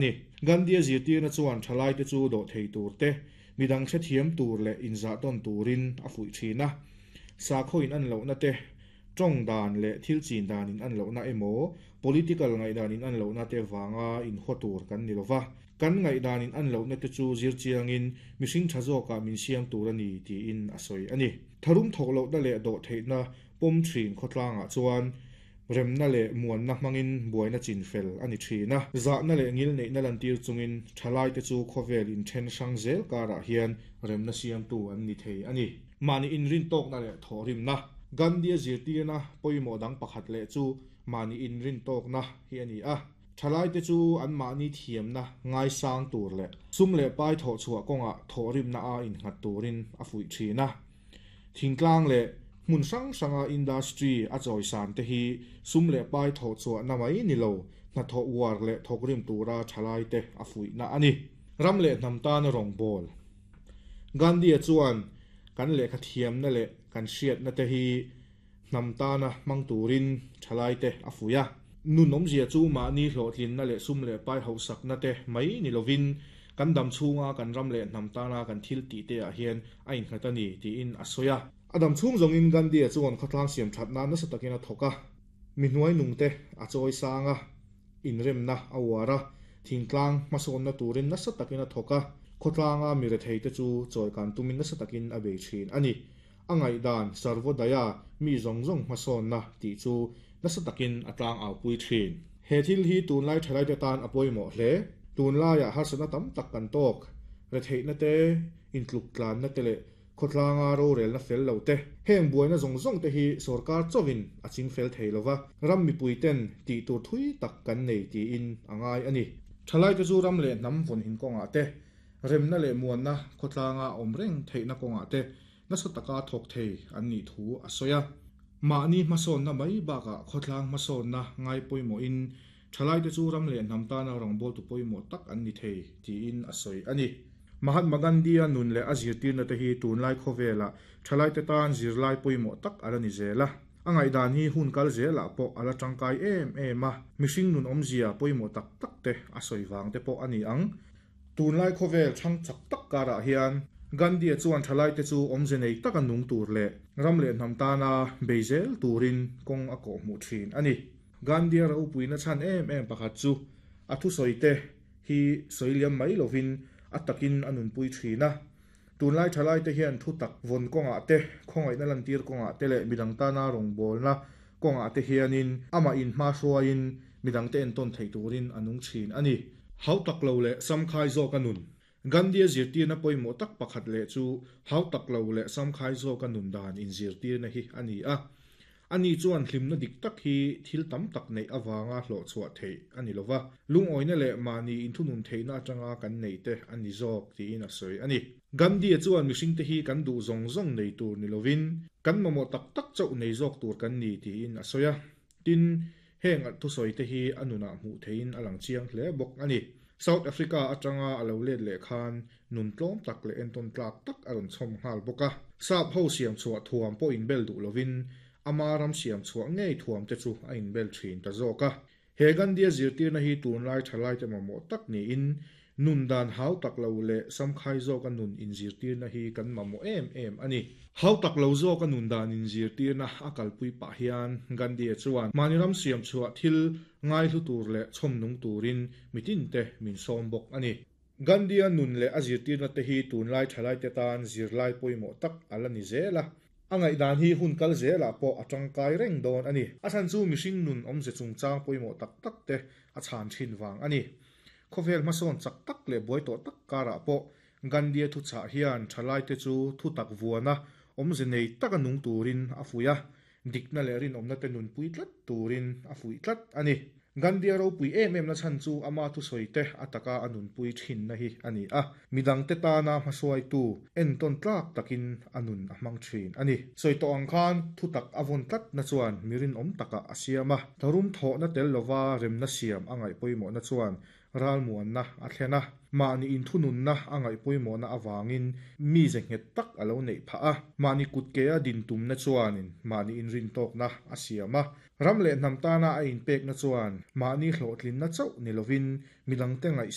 Ni. Gandhi-a zirtirna chuan thalaite chu dawhthei tur te, midang hrethiam tur leh inzahtawn turin a fuih thin a. Sakhaw in an lohna te, tawng dan leh thil chin dan in an lohna emaw, political ngaihdan in an lohna te vanga inhaw tur kan ni lova. Kan ngaihdan in an lohna te chu zir chiangin mihring tha zawkah min siam tur a ni tiin a sawi a ni. Tharum thawk lohna leh dawhtheihna pawm thin khawtlangah chuan Remna leh muanna hmangin buaina chin fel a ni thin a. Zahna leh ngilneihna lantir chungin thalaite chu khawvel inthen hrang zel karah hian remna siamtu an ni thei a ni. Mahni inrintawkna leh thawhrimna. Gandhi-a zirtirna pawimawh dang pakhat leh chu mahni inrintawkna hi a ni a. Thalaite chu anmahni thiamna ngaisang tur leh sum leh pai thawhchhuah kawngah thawhrimna a innghat turin a fuih thin a. Thingtlang leh hmun hrang hranga industry a chawisan te hi sum leh pai thawh chhuahna mai ni lo, hnathawh uar leh thawkrim tura thalaite a fuihna a ni. Ram leh hnam tana rawngbawl. Gandhi-a chuan kan lehkha thiamna leh kan hriatna te hi hnam tana hmang turin thalaite a fuih a. Nun awmzia chu mahni hlawhtlinna leh sum leh pai hauhsakna te mai ni lovin kan dam chhunga kan ram leh hnam tana kan thil tih te ah hian a innghat a ni tiin a sawi a. A dam chhung zawngin Gandhi-a chuan khawtlang siam that nan nasa takin a thawk a, mi hnuai nungte a chawi sang a, inremna a uar a, thingtlang hmasawnna turin nasa takin a thawk a, khawtlanga mi retheite chu chawikan tumin nasa takin a bei thin a ni. A ngaihdan Sarvodaya mi zawng zawng hmasawnna tih chu nasa takin a tlang aupui thin. He thil hi tunlai thalaite tan a pawimawh hle. Tunlaiah harsatna tam tak kan tawk. Retheihna te, intluk tlanna te leh khawtlanga rorelna fel lo te. Heng buaina zawng zawng te hi sorkar chauhin a ching fel thei lova, ram mipui ten tih tur thui tak kan nei tiin a ngai a ni. Thalaite chu ram leh hnam vawnhin kawngah te, remna leh muanna khawtlanga awm reng theihna kawngah te nasa taka thawk thei an nih thu a sawi a. Mahni hmasawnna mai bakah khawtlang hmasawnna ngai pawimawhin thalaite chu ram leh hnam tana rawngbawltu pawimawh tak an ni thei tiin a sawi a ni. Mahatma Gandhi-a nun leh a zirtirna te hi tunlai khawvelah thalaite tan zirlai pawimawh tak a la ni zel a. A ngaihdan hi hun kal zelah pawh a la tangkai em em a, mihring nun awmzia pawimawh tak tak te a sawi vang te pawh a ni ang. Tunlai khawvel chhang chak tak karah hian Gandhi-a chuan thalaite chu awmze nei taka nung tur leh ram leh hnam tana bei zel turin kawng a kawhhmuh thin a ni. Gandhi-a ropuina chhan em em pakhat chu a thusawite hi sawi liam mai lovin a takin a nunpui thin a. Tunlai thalaite hian thu tak vawn kawngah te, khawngaihna lantir kawngah te leh midang tana rawngbawlna kawngah te hianin amah inhma hruaiin midangte entawn theih turin a nung thin a ni. Hau tak lo leh samkhai zawka nun. Gandhi-a zirtirna pawimawh tak pakhat leh chu hau tak lo leh samkhai zawka nun dan inzirtirna hi a ni a. Ani chuan hlimna dik tak hi thil tam tak neih avanga hlawhchhuah theih a ni lova, lungawina leh mahni inthunun theihna atanga kan neih te a ni zawk tiin a sawi a ni. Gandhi-a chuan mihringte hi kan duh zawng zawng nei tur ni lovin, kan mamawh tak tak chauh nei zawk tur kan ni tiin a sawi a. Tin, heng thusawi te hi a nunah hmuh theihin a lang chiang hle bawk a ni. South Africa atanga a lo let leh khan nun tlawm tak leh entawn tlak tak a rawn chhawm nghal bawk a. Sap ho siam chhuah thuam pawh inbel duh lovin ama ram siam chhuah ngei thuam te chu a inbel thin ta zawk a. He Gandhi-a zirtirna hi tunlai thalaite mamawh tak niin nun dan hau tak lo leh samkhai zawka nun inzirtirna hi kan mamawh em em a ni. Hau tak lo zawka nun dan inzirtirna a kalpui pah hian Gandhi-a chuan mahni ram siam chhuah thil ngaihlu tur leh chhawm nung turin mitinte min sawm bawk a ni. Gandhi-a nun leh a zirtirna te hi tunlai thalaite tan zirlai pawimawh tak a la ni zel a. A ngaihdan hi hun kal zelah pawh a tangkai reng dawn a ni. A chhan chu mihring nun awmze chungchang pawimawh tak tak te a chhan thin vang a ni. Khawvel hmasawn chak tak leh buai tawh tak karah pawh Gandhi-a thuchah hian thalaite chu thutak vuana awmze nei taka nung turin a fuih a, dikna leh rinawmna te nunpui tlat turin a fuih tlat a ni. Gandhi-a ropui em em na chhan chu ama thusawi te a taka a nunpui thinna hi a ni a, midangte tana hmasuaitu entawn tlak takin a nun a hmang thin a ni. Sawi tawh ang khan thutak a vawn tlatna chuan mi rinawm takah a siam a, tharum thawhna tel lova remna siam a ngaih pawimawhna chuan ralmuanna a thlen a. Mahni inthununna a ngaih pawimawhna avangin mize nghet tak a lo neih phah a. Mahni kutkea din tumna chuanin mahni inrintawkna a siam a. Ram leh hnam tana a inpekna chuan mahni hlawhtlinna chauh ni lovin midangte ngaih.